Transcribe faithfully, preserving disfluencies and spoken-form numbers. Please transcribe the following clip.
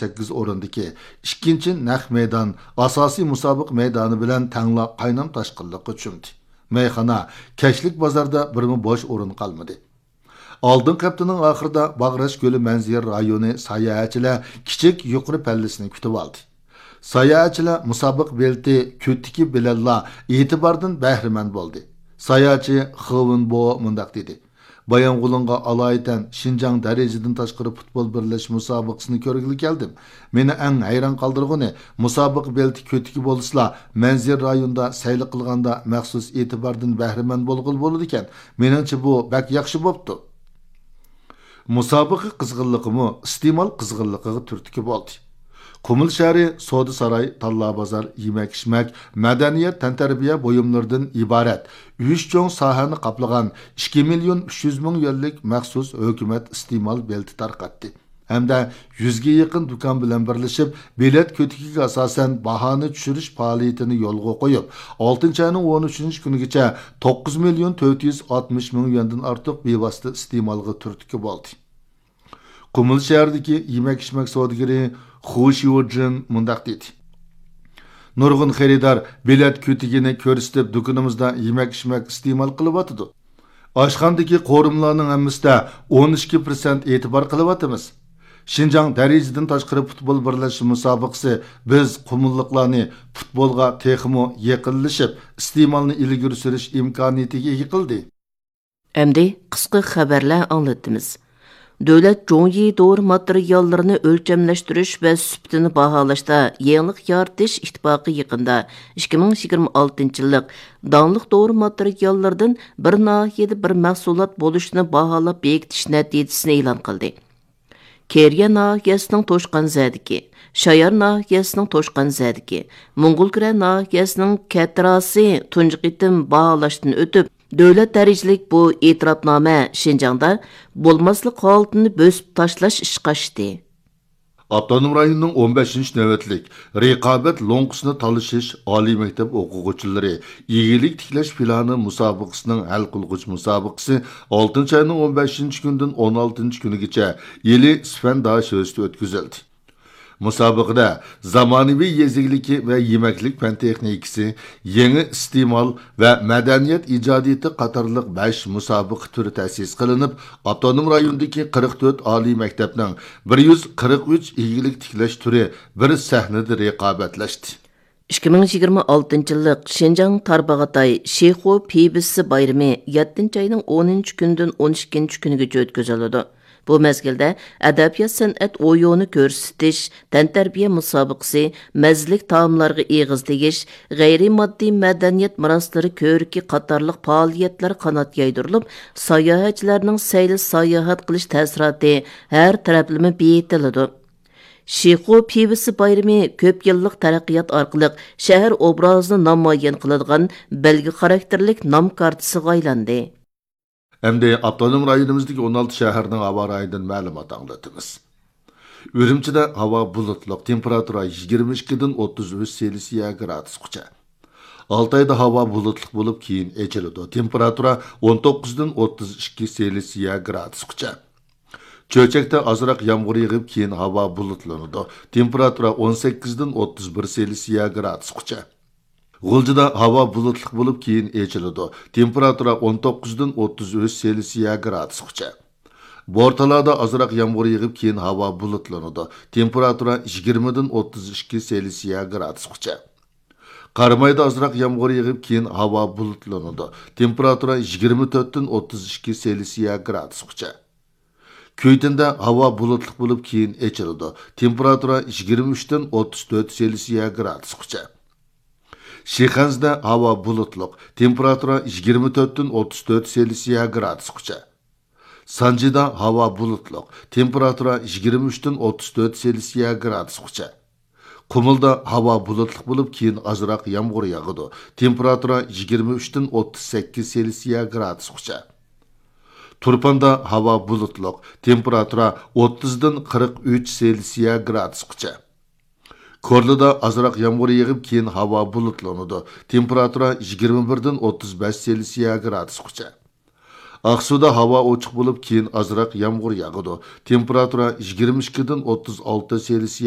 سەككىز ئورۇندىكى ئىككىنچى نەق مەيدان ئاساسىي مۇسابىقە مەيدانى بىلەن تەڭلا قاينام تاشقىنلىققا چۆمدى. مەيخانا، كەچلىك بازاردا بىرمۇ بوش ئورۇن قالمىدى. ئالدىنقى ھەپتىنىڭ ئاخىرىدا باغراش كۆلى مەنزىرە رايونى ساياھەتچىلەر كىچىك يۇقىرى پەللىسىنى كۈتۈۋالدى. ساياھەتچىلەر مۇسابىقە بېلىتى كۆتىكى بىلەنلا ئېتىباردىن بەھرىمەن بولدى. ساياھەتچى خېۋېن بو مۇنداق دېدى: بايانغولىنغا ئالايىتەن شىنجاڭ دەرىجىدىن تاشقىرى پۇتبول بىرلەشمە مۇسابىقىسىنى كۆرگىلى كەلدىم. مېنى ئەڭ ھەيران قالدۇرغىنى، مۇسابىقە بېلىتى كۆتىكى بولسىلا، مەنزىرە رايونىدا سەيلە قىلغاندا مەخسۇس ئېتىباردىن بەھرىمەن بولغىلى بولىدىكەن. مېنىڭچە، بۇ بەك ياخشى بوپتۇ. مۇسابىقە قىزغىنلىقىمۇ ئىستېمال قىزغىنلىقىغا تۈرتكە بولدى. قۇمۇل شەھىرى سودا ساراي، تاللا بازار، يېمەك-ئىچمەك، مەدەنىيەت، تەنتەربىيە بۇيۇملىرىدىن ئىبارەت ئۈچ چوڭ ساھەنى قاپلىغان ئىككى مىليون ئۈچ يۈز مىڭ يۈەنلىك مەخسۇس ھۆكۈمەت ئىستېمال بېلىتى تارقاتتى ھەمدە يۈزگە يېقىن دۇكان بىلەن بىرلىشىپ، بېلەت كۆتىكىگە ئاساسەن باھانى چۈشۈرۈش پائالىيىتىنى يولغا قويۇپ، ئالتىنچى ئاينىڭ ئون ئۈچىنچى كۈنىگىچە توققۇز مىليون تۆت يۈز ئاتمىش مىڭ يۈەندىن ئارتۇق بىۋاسىتە ئىستېمالغا تۈرتكە بولدى. قۇمۇل شەھىرىدىكى يېمەك-ئىچمەك سودىگىرى خۇ شيۇجىن مۇنداق دېدى: نۇرغۇن خېرىدار بېلەت كۆتىكىنى كۆرسىتىپ، دۇكىنىمىزدا يېمەك-ئىچمەك ئىستېمال قىلىۋاتىدۇ. ئاشخانىدىكى قورۇمىلارنىڭ ھەممىسىدە ئون ئىككى پىرسەنت ئېتىبار قىلىۋاتىمىز. شىنجاڭ دەرىجىدىن تاشقىرى پۇتبول بىرلەشمە مۇسابىقىسى بىز قۇمۇللۇقلارنى پۇتبولغا تېخىمۇ يېقىنلىشىپ، ئىستېمالنى ئىلگىرى سۈرۈش ئىمكانىيىتىگە ئىگە قىلدى. ئەمدى قىسقا خەۋەرلەر ئاڭلىتىمىز. دۆلەت جۇڭيى دورا ماتېرىياللىرىنى ئۆلچەملەشتۈرۈش ۋە سۈپىتىنى باھالاشتا يېڭىلىق يارىتىش ئىتتىپاقى يېقىندا ئىككى مىڭ يىگىرمە ئالتىنچى يىللىق داڭلىق دورا ماتېرىياللىرىدىن بىر ناھىيەدە بىر مەھسۇلات بولۇشىنى باھالاپ بېكىتىش نەتىجىسىنى ئېلان قىلدى. كېرىيە ناھىيەسىنىڭ توشقانزەدىكى، شايار ناھىيەسىنىڭ توشقانزەدىكى، موڭغۇلكۈرە ناھىيەسىنىڭ كەتىراسى تۇنجى قېتىم باھالاشتىن ئۆتۈپ، دۆلەت دەرىجىلىك بۇ ئېتىراپنامە شىنجاڭدا بولماسلىق ھالىتىنى بۆسۈپ تاشلاش ئىشقا ئاشتى. ئاپتونوم رايوننىڭ ئون بەشىنچى نۆۋەتلىك رىقابەت لوڭقىسىنى تالىشىش ئالىي مەكتەپ ئوقۇغۇچىلىرى ئىگىلىك تىكلەش پىلانى مۇسابىقىسىنىڭ ھەل قىلغۇچ مۇسابىقىسى ئالتىنچى ئاينىڭ ئون بەشىنچى كۈنىدىن ئون ئالتىنچى كۈنىگىچە ئىلى سىفەن داشۆسىدە ئۆتكۈزۈلدى. مۇسابىقىدە زامانىۋى يېزا ئىگىلىكى ۋە يېمەكلىك پەن تېخنىكىسى، يېڭى ئىستېمال ۋە مەدەنىيەت ئىجادىيىتى قاتارلىق بەش مۇسابىقە تۈرى تەسىس قىلىنىپ، ئاپتونوم رايوندىكى قىرىق تۆت ئالىي مەكتەپنىڭ بىر يۈز قىرىق ئۈچ ئىگىلىك تىكلەش تۈرى بىر سەھنىدە رىقابەتلەشتى. ئىككى مىڭ يىگىرمە ئالتىنچى يىللىق شىنجاڭ تارباغاتاي شىخۇ پىۋىسى بايرىمى يەتتىنچى ئاينىڭ ئونىنچى كۈنىدىن ئون ئىككىنچى كۈنىگىچە ئۆتكۈزۈلىدۇ. بۇ مەزگىلدە ئەدەبىيات-سەنئەت ئويۇنى كۆرسىتىش، تەنتەربىيە مۇسابىقىسى، مەززىلىك تائاملارغا ئېغىز تېگىش، غەيرىي ماددىي مەدەنىيەت مىراسلىرى كۆرىكى قاتارلىق پائالىيەتلەر قانات يايدۇرۇلۇپ، ساياھەتچىلەرنىڭ سەيلە ساياھەت قىلىش تەسىراتى ھەر تەرەپلىمە بېيىتىلىدۇ. شىخۇ پىۋىسى بايرىمى كۆپ يىللىق تەرەققىيات ئارقىلىق شەھەر ئوبرازىنى نامايان قىلىدىغان بەلگە خاراكتېرلىك نام كارتىسىغا ئايلاندى. ئەمدى ئاپتونوم رايونىمىزدىكى ئون ئالتە شەھەرنىڭ ھاۋا رايىدىن مەلۇمات ئاڭلىتىمىز. ئۈرۈمچىدە ھاۋا بۇلۇتلۇق، تېمپېراتۇرا يىگىرمە ئىككىدىن ئوتتۇز ئۈچ سېلسىيە گرادۇسقىچە. ئالتايدا ھاۋا بۇلۇتلۇق بولۇپ، كېيىن ئېچىلىدۇ، تېمپېراتۇرا ئون توققۇزدىن ئوتتۇز ئىككى سېلسىيە گرادۇسقىچە. چۆچەكتە ئازراق يامغۇر يېغىپ، كېيىن ھاۋا بۇلۇتلىنىدۇ، تېمپېراتۇرا ئون سەككىزدىن ئوتتۇز بىر سېلسىيە گرادۇسقىچە. غۇلجىدا ھاۋا بۇلۇتلۇق بولۇپ، كېيىن ئېچىلىدۇ، تېمپېراتۇرا ئون توققۇزدىن ئوتتۇز ئۈچ سېلسىيە گرادۇسقىچە. بورتالادا ئازراق يامغۇر يېغىپ، كېيىن ھاۋا بۇلۇتلىنىدۇ، تېمپېراتۇرا يىگىرمىدىن ئوتتۇز ئىككى سېلسىيە گرادۇسقىچە. قارامايدا ئازراق يامغۇر يېغىپ، كېيىن ھاۋا بۇلۇتلىنىدۇ، تېمپېراتۇرا يىگىرمە تۆتتىن ئوتتۇز ئىككى سېلسىيە گرادۇسقىچە. كۈيتىندە ھاۋا بۇلۇتلۇق بولۇپ، كېيىن ئېچىلىدۇ، تېمپېراتۇرا يىگىرمە ئۈچتىن ئوتتۇز تۆت سېلسىيە گرادۇسقىچە. شىخەنزىدە ھاۋا بۇلۇتلۇق، تېمپېراتۇرا يىگىرمە تۆتتىن ئوتتۇز تۆت سېلسىيە گرادۇسقىچە. سانجىدا ھاۋا بۇلۇتلۇق، تېمپېراتۇرا يىگىرمە ئۈچتىن ئوتتۇز تۆت سېلسىيە گرادۇسقىچە. قۇمۇلدا ھاۋا بۇلۇتلۇق بولۇپ، كېيىن ئازراق يامغۇر ياغىدۇ، تېمپېراتۇرا يىگىرمە ئۈچتىن ئوتتۇز سەككىز سېلسىيە گرادۇسقىچە. تۇرپاندا ھاۋا بۇلۇتلۇق، تېمپېراتۇرا ئوتتۇزدىن قىرىق ئۈچ سېلسىيە گرادۇسقىچە. كورلىدا ئازراق يامغۇر يېغىپ، كېيىن ھاۋا بۇلۇتلىنىدۇ، تېمپېراتۇرا يىگىرمە بىردىن ئوتتۇز بەش سېلسىيە گرادۇسقىچە. ئاقسۇدا ھاۋا ئوچۇق بولۇپ، كېيىن ئازراق يامغۇر ياغىدۇ، تېمپېراتۇرا يىگىرمە ئىككىدىن ئوتتۇز ئالتە سېلسىيە